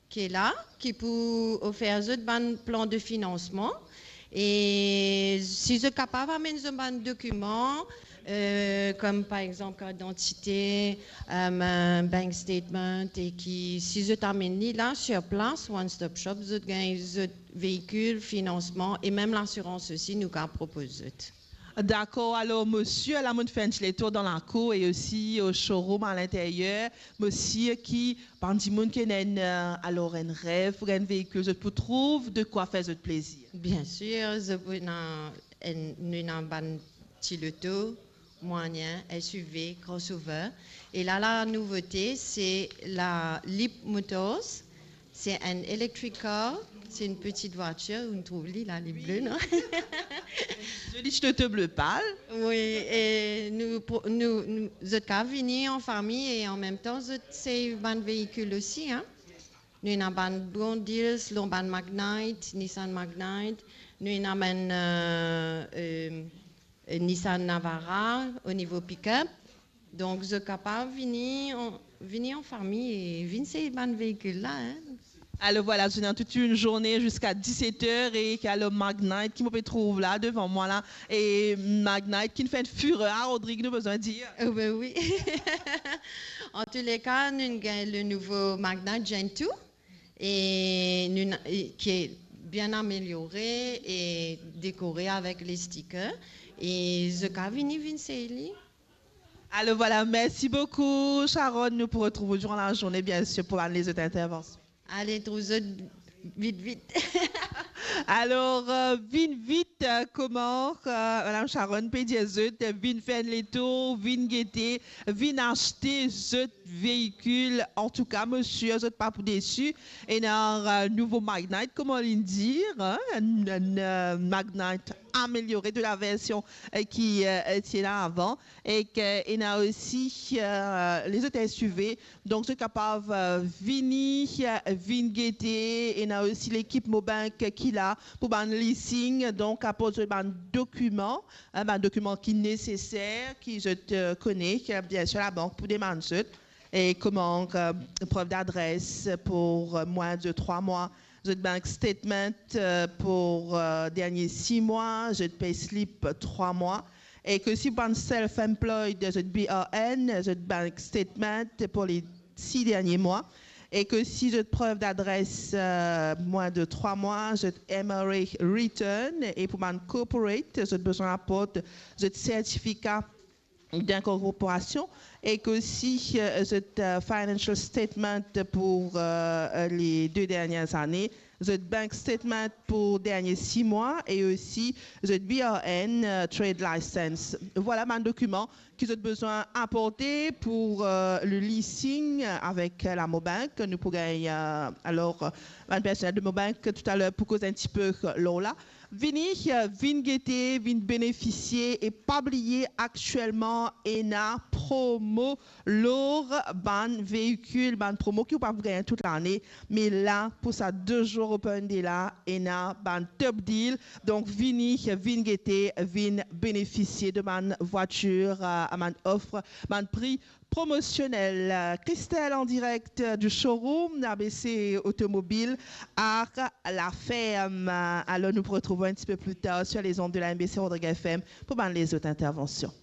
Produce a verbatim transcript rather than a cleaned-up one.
ki la, ki pou ofer zot bann plan de finansman. E si zot kapav amenn zot bann dokiman, eh, kom par exanp kart didantite, eh, bank statement, e ki si zot amenn li la, sir plas, One Stop Shop, zot gagn zot veikil, finansman e mem lasirans osi, nou kapav propoz zot. Dakor, alor, mo sir, la mo'nn fer enn ti letour dan lakour e osi o showroom alinteryer. Mo sir ki bann dimoun ki ena enn, eh, alor, enn rev pou gagn enn veikil, zot pou trouv de kwa fer zot plezir. Bien sir, zot pou ena enn, nou ena bann ti loto, mwayen, S U V, crossover. E la, la nouvote, se la Leap Motors. Se enn electric car, se enn peti vwatir, ou trouv li la, li ble, non? Zoli ti loto ble pal. Wi, e nou pro-, nou, nou, zot kapav vini an fami e an mem tan zot sey bann veikil osi, hein. Nou ena bann bon deals lor bann Magnite, Nissan Magnite, nou ena bann, eh, eh, eh, Nissan Navara o nivo pick-up. Donk, zot kapav vini an, vini an fami e vinn sey bann veikil la, hein. Alor vwala, zot ena tout enn zourne ziska diset er e ki alor Magnite ki mo pe trouv la devan mwa la, e Magnite ki'nn fer enn firer a Rodrig, nou bizin dir. Oh, be wi. Antouleka, nou gagn le nouvo Magnite Gen two e nou na-, e ki bien ameliore e dekore avek le sticker e zot kapav vini, vinn sey li. Alor vwala, mersi boukou, Sharon. Nou pou retrouv ou diran lazourne, bien sir, pou bann lezot intervansion. Ale, trouv zot vit, vit. Alor, eh, vinn vit, eh, kouma, eh, Madam Sharon pe dir zot, eh, vinn fer enn letour, vinn gete, vinn aste zot veikil. Antouka, mo sir, zot pa pou desi. Ena, eh, nouvo Magnite, kouma li'nn dir, hein, enn, enn, eh, Magnite ameliore de la version, eh, ki, eh, ti ena avan. Ek ena osi, eh, lezot S U V. Donk, zot kapav, eh, vini, eh, vinn gete. Ena osi lekip Mobank ki la pou bann leasing. Donk, aport zot bann dokiman, eh, bann dokiman ki neseser, ki zot, eh, kone, ki, bien sir, labank pou demann zot. E kouma, eh, prev dadres pou, eh, mwin de trwa mwa, zot bank statement, eh, pou, eh, dernie sis mwa, zot payslip trwa mwa, e ki si bann self-employed, zot B R N, zot bank statement pou le sis dernie mwa, e ki si zot prev dadres, eh, mwin de trwa mwa, zot M R A return, e pou bann corporate, zot bizin aport zot sertifika d'inkorporasion, e ki si, eh, zot, eh, financial statement pou, eh, le de dernie ane, zot bank statement pou dernie sis mwa, e osi zot B R N, eh, trade license. Vwala bann dokiman ki zot bizin aporte pou, eh, le leasing avek, eh, la Mobank. Nou pou gagn, eh, alor, eh, bann personel de Mobank toutaler pou koz enn tipe lor la. Vini, eh, vinn gete, vinn benefisie, e pa bliye, aktielman ena promo lor bann veikil, bann promo ki ou pa pou gagn tout lane, me la, pou sa de zour Open Day la, ena bann top deal. Donk, vini, vinn gete, vinn benefisie de bann vwatir, eh, bann ofer, bann pri promosionel. Christelle en direct du showroom A B C Automobile à La Ferme. Alor, nou pou retrouv enn tipe pli tar sur les ondes de la M B C Rodrigues F M pou bann lezot intervansion.